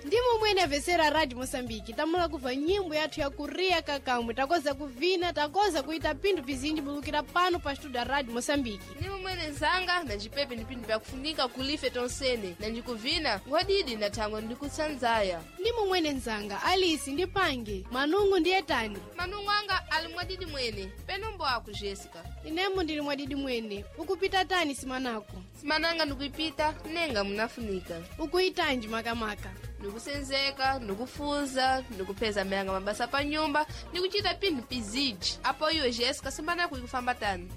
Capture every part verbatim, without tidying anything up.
Ndimo mwene avesera Radio Moçambique tamula kubva nyimbo yathu ya kuriya kakamwe takoza kuvina, takoza kuita pinthu pizinji bulukira pano pa studio ya Radio Moçambique. Ndimo mwene nzanga na cipepe ni pinthu pyakufunika kulife tonsene na njikuvina ngwadidi na thangwe ndikutsanzaya. Ndimo mwene nzanga Alisi ndi Pange manungu ndiye tani. Manungu anga ali mwadidi mwene penombo ako Jessica. Inemo ndili mwadidi mwene ukupita tani simanako. Simananga ndikuipita nenga munafunika. Ukuitanji makamaka. Ndikusenzeka, ndikufuza, ndikupeza mayanga mabasa pa nyumba, ndikuchita pinthu piziji. Apo iwe Jessica simanako ikufamba tani.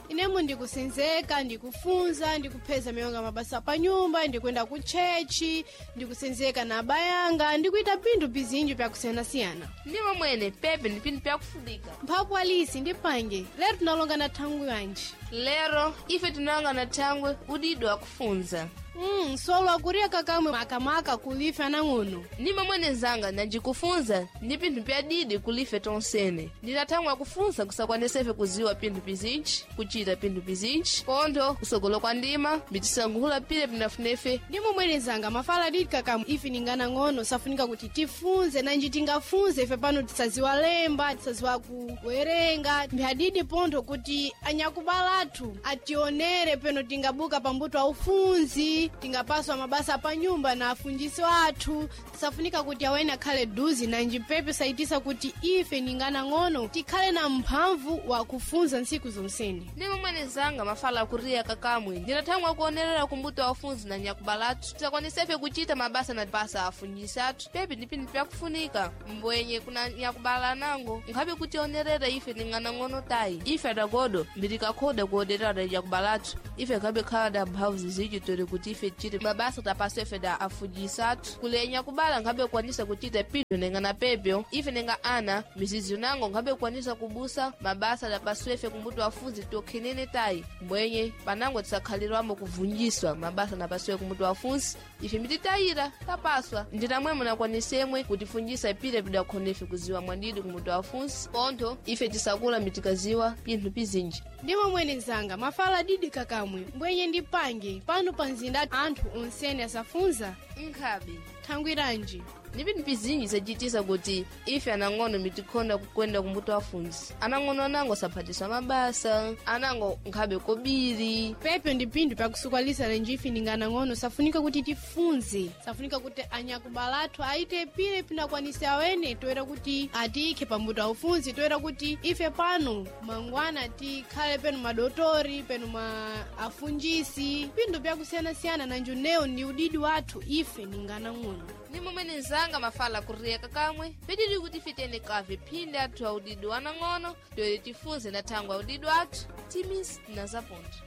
Inemo ndikusenzeka, ndikufunza, ndikupheza miyonga mabasa pa nyumba, ndikuyenda ku chechi, ndikusenzeka na abayanga, ndikuita pinthu pizinji pyakusiyanasiyana. Ndimo mwene pepe ni pinthu pyakufunika. Mphapu Alisi ndi Pange lero tinalonga na thangwi yanji. Lero ife tinalonga na thangwe udidi wakufunza. Mm, solo akuriya kakamwe makamaka kulife anang'ono. Ndimo mwene nzanga nanjikufunza ndi pinthu pyadidi kulife tonsene. Ndinathangwe akufunza kusakwanisa kuziwa pinthu pizinji, kuchita pinthu pizinji, pontho kusogolo kwa ndima, mbitisankhula pile pinafunefe. Ndimo mwene nzanga mafala didi kakamwe ife ninganang'ono safunika kuti tifunze nanji tingafunze ife pano tisaziwa lemba, tisaziwa kuwerenga. Mphadidi pontho kuti anyakubala athu ationere peno tingabuka pambuto aufunzi, tingapaswa mabasa pa nyumba na afunjisi athu. Tisafunika kuti awene akhale duzi nanji pepe saitisa kuti ife ninganang'ono tikhale na mphamvu wakufunza ntsiku zonsene. Ndimo mwene nzanga mafala akuriya kakamwe ndinathangwe akuonerera kumbuto afunzi na nyakubalatu tisakwanisefe kuchita mabasa na pasa afunjisi athu pepe ndi pinthu pyakufunika mbwenye kuna nyakubala anango nkhabe kutionerera ife ning'anang'ono tayi ife adagodo mbitikakhoda kuonerera da nyakubalatu ife nkhabe khala da mphamvu zizinji tori kuti ife tichite mabasa tapaswa ife da afunjisi athu kule nyakubala nkhabe kukwanisa kuchita pinthu nenga na pepyo ife nenga ana mizizi nango nkhabe kukwanisa kubusa mabasa tapaswa ife kumbuto afunzi tokhenene tayi mbwenye panango tisakhalirwamo kuvunjiswa mabasa napasiwe kumutu afunsi ife mititayira tapaswa nditamwe munakwanisemwe kutifunjisa pile pidakhonefe kuziwa mwadidi kumutu afunsi pontho ife tisakula mitikaziwa pinthu pizinji. Ndimo mwene nzanga mafala didi kakamwe mbwenye ndi Pange pano pa mzinda anthu onsene asafunza. Nkhabe thangwiranji. Ndi pinthu pizinji zacitisa kuti ife anang'ono mitikhonda kukwenda kumbuto afunzi. Anang'ono anango saphatiswa mabasa, anango nkhabe kobiri. Pepe ndi pinthu pyakusukwalisa lenji ife ninganang'ono safunika kuti tifunze, safunika kuti anyakubala athu aite pile pinakwanisa awene toera kuti atikhe pambuto aufunzi, toera kuti ife pano mangwana tikhale peno madotori peno ma afunjisi pinthu pyakusiyanasiyana nanji newo ndi udidi wathu ife ninganang'ono. Ndi momwene nzanga mafala kuriya kakamwe pedidi kuti ife tiyende kave phindi athu audidi wanang'ono toere tifunze na thangwe audidi athu timisi na zapontho.